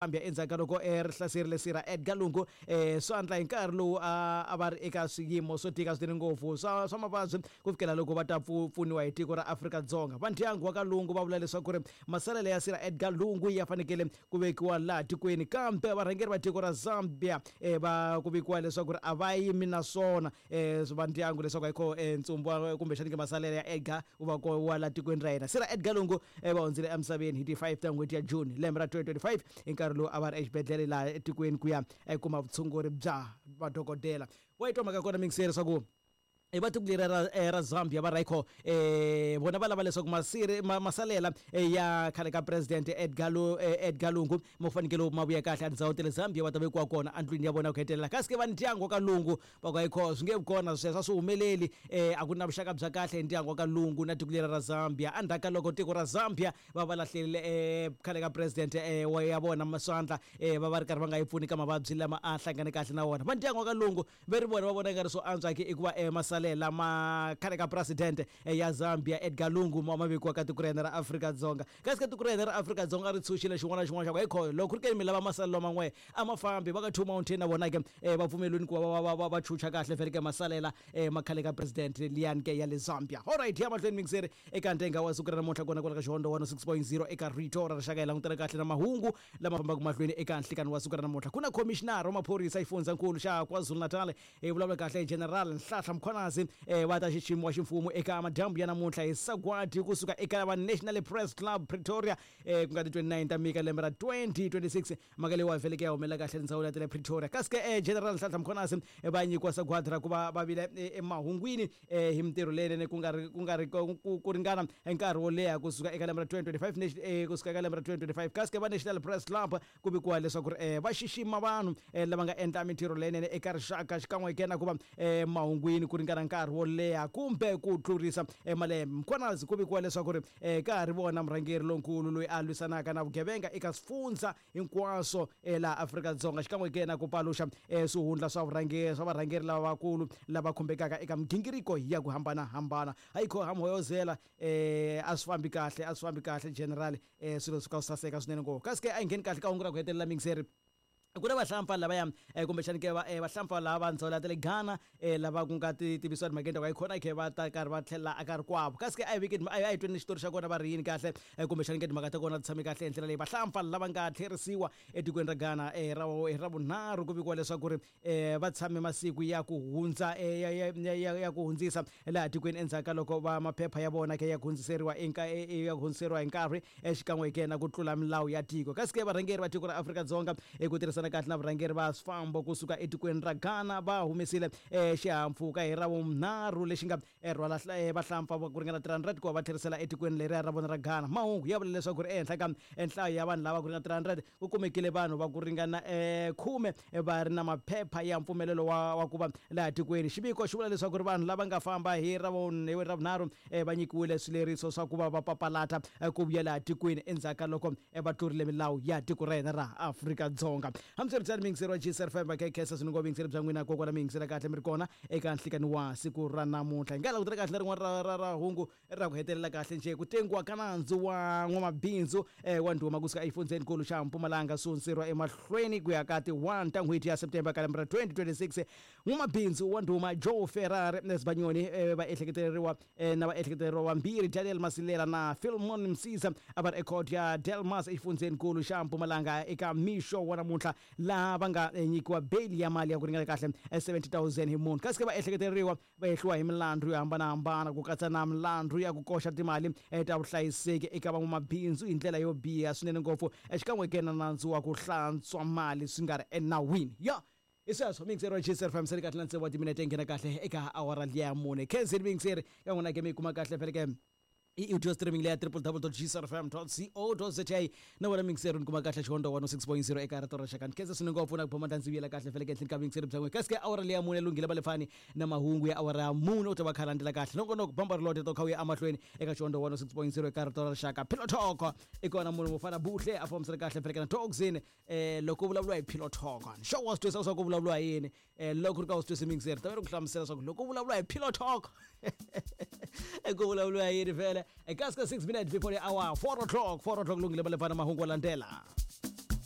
Zambia endzhaku ka loko ri hlaserile sirha Edgar Lungu swandla hi nkarhi lowu a va ri eka swiyimo swo tika swinene ngopfu swa mavabyi ku fikela loko va ta pfuniwa hi tiko ra Afrika-Dzonga. Va ndyangu wa ka Lungu va vula leswaku ri masalela ya sirha Edgar Lungu ya fanekele ku vekiwa laha tikweni, kambe varhangeri va tiko ra Zambia va ku vikiwa leswaku ri a va yimi na swona va ndyangu leswaku ayikho ntsumbu kumbexani ke masalela ya Edgar wu va wa la tikweni ra yena. Sirha Edgar Lungu va hundzile emisaveni hi ti 5 ta n'hweti ya June lembe ra 2025 hi nkarhi lowu a va ri exibedhlele laha etikweni ku ya kuma vutshunguri bya vadokodela. Wa yi twa mhaka ya kona mingiseri swa ku i va tiko leri ra Zambia va rayikho vona va lava leswaku masiri masalela ya khale ka president Edgar Lungu ma fanekele ma vuya kahle a tindhawu ta le Zambia va ta vekiwa kona endlwini ya vona ku hetelela. Kasi ke va ndyangu ka Lungu va ku ayikho swi nge vi kona sweswo a swi humeleli a ku na vuxaka bya kahle hi ndyangu wa ka Lungu na tiko leri ra Zambia endzhaku ka loko tiko ra Zambia va va lahlerile khale ka president wa ya vona swandla va va ri karhi va nga yi pfuni ka mavabyi lama a hlangane kahle na wona. Va ndyangu wa ka Lungu ve ri vona va vona nga ri swo antswa ke i ku va masalela ma khale ka president ya Zambia Edgar Lungu ma vekiwa ka tiko ra hina ra Afrika-Dzonga. Kasi ka tiko ra hina ra Afrika-Dzonga ri tshunxile xin'wana na xin'wana xa ku heyikho loko ku ri ke mi lava masalela man'we a ma fambi. Va ka Two Mountain na vona ke va pfumelweni ku va va chucha kahle vhele ke masalela ma khale ka president liyani ke ya le Zambia. Alright, ya mahlweni mingiseri eka ntenga wa siku ra namuntlha kona kwala ka Xihondo 106.0 eka Rito ra Rixaka. Hi langutela kahle na mahungu lama fambaka mahlweni eka nhlikani wa siku ra namuntlha. Ku na commissioner wa maphorisa xifundzankulu xa KwaZulu-Natal hi vulavula kahle General Nhlanhla Mkhwanazi va ta xiximiwa ximfumo eka madyambu ya namuntlha hi sagwadi kusuka eka va National Press Club Pretoria ku nga ti 29 ta Mika lembe ra 2026. Mhaka leyi wa vheleke ya humelela kahle ndzhawu ya le Pretoria. Kasi ke General Nhlanhla Mkhwanazi va nyikiwa sagwadi ra ku va va vile emahungwini hi mintirho leyinene ku nga ri ku nga ri ku ringana nkarhi wo leha kusuka eka lembe ra 2025 kusuka eka lembe ra 2025. Kasi ke va National Press Club ku vikiwa leswaku va xixima vanhu lava nga endla mintirho leyinene eka rixaka xikan'we ke na ku va mahungwini ku ringana nkarhi wo leha kumbe ku tlurisa malembe. Mkhwanazi ku vikiwa leswaku ri ka ha ri vona murhangeri lonkulu loyi a lwisanaka na vugevenga eka swifundza hinkwaswo laha Afrika-Dzonga xikan'we ke na ku paluxa swihundla swa vurhangeri swa varhangeri lava vakulu lava khumbekaka eka migingiriko ya ku hambanahambana. Hayikho hamhoyozela a swi fambi kahle, a swi fambi kahle general swilo swi ka swi saseka swinene ngopfu. Kasi ke a yi ngheni kahle ka hungu ra ku hetelela mingiseri. Ku na vahlampfa lavaya kumbexani ke vahlampfa lava va ndzawulo ya ta le Ghana lava ku nga ti tivisiwa timhakeni ta ku ayikhona khe va ta karhi va tlhelela a ka rikwavo. Kasi ke a hi viki a hi tweni xitori xa kona va ri yini kahle kumbexani ke timhaka ta kona ti tshame kahle hi ndlela leyi. Vahlampfa lava nga tlherisiwa etikweni ra Ghana ra ra vunharhu ku vikiwa leswaku ri va tshame masiku ya ku hundza ya ku hundzisa laha tikweni endzhaku ka loko va maphepha ya vona ke ya ku hundziseriwa ya ku hundziseriwa hi nkarhi xikan'we ke na ku tlula milawu ya tiko. Kasi ke varhangeri va tiko ra Afrika-Dzonga hi ku tirhisana kahle na vurhangeri va swifambo kusuka etikweni ra Ghana va humesile xihahampfhuka hi Ravunharhu lexi nga rhwala vahlampfa va ku ringana 300 ku va va tlherisela etikweni leriya ra vona ra Ghana. Mahungu ya vula leswaku ri ehenhla ka nhlayo ya vanhu lava ku ringana 300 ku kumekile vanhu va ku ringana khume va ri na maphepha ya mpfumelelo wa ku va laha tikweni. Xiviko xi vula leswaku ri vanhu lava nga famba hi Ravunharhu va nyikiwile swileriso swa ku va va papalata ku vuya laha tikweni endzhaku ka loko va tlurile milawu ya tiko ra hina ra Afrika-Dzonga. Hambiswiritano, muyingiseri wa GCR FM va khensa swinene ngopfu vuyingiseri bya n'wina kokwala mi yingisela kahle mi ri kona eka nhlikani wa siku ra namuntlha. Hi nga langutela kahle na rin'wana ra hungu ra ku hetelela kahle njhe ku tengiwa ka nandzu wa n'wamabindzu wa ndhuma kusuka exifundzhenikulu xa Mpumalanga swi hundziseriwa emahlweni ku ya ka ti 1 ta n'hweti ya September ka lembe ra 2026. N'wamabindzu wa ndhuma Joe Ferrari Sibanyoni va ehleketeleriwa na vaehleketeleriwa vambirhi Daniel Masilela na Philemon Msiza a va ri ekhoto ya Delmas exifundzhenikulu xa Mpumalanga eka mixo wa namuntlha laha va nga nyikiwa bail ya mali ya ku ringana kahle 70,000 hi munhu. Kasi ke vaehleketeleriwa va hehliwa hi milandzu yo hambanahambana ku katsa na milandzu ya ku koxa timali ta vuhlayiseki eka van'wamabindzu hi ndlela yo biha swinene ngopfu xikan'we ke na nandzu wa ku hlantswa mali swi nga ri enawini. Ya hi sweswo miyingiseri wa GCR FM sele kahle na tsevu wa timinete nghena kahle eka awara liya ya mune. Khenseni miyingiseri ka n'wina ke mi yi kuma kahle vhele ke i audio streaming leya www.gcrfm.co.za na wena miyingiseri ni kuma kahle Xihondo 106.0 eka Rito ra Rixaka. Ni khensa swinene ngopfu na ku bomba ndzi vuyela kahle vhele ke ehenhleni ka vuyingiseri bya n'wina. Kasi ke awara leya mune lunghile va le fani na mahungu ya awara ya mune u ta va kha landzela kahle nongonoko bamba rilote to kha u ya emahlweni eka Xihondo 106.0 eka Rito ra Rixaka. Pillow Talk i kona munhu mufana Buhle a fambisela kahle vhele ke na Talkzin loko ku vulavuriwa hi Pillow Talk xo wa swi twisisa swa ku vulavuriwa yini loko ri ka u swi twisi miyingiseri ta va ri ku hlamusela swa ku loko ku vulavuriwa hi Pillow Talk ku vulavuriwa yini vhele. Kasi ka 6 minutes before the hour 4 o'clock 4 o'clock lunghile va le fana mahungu wa landzela.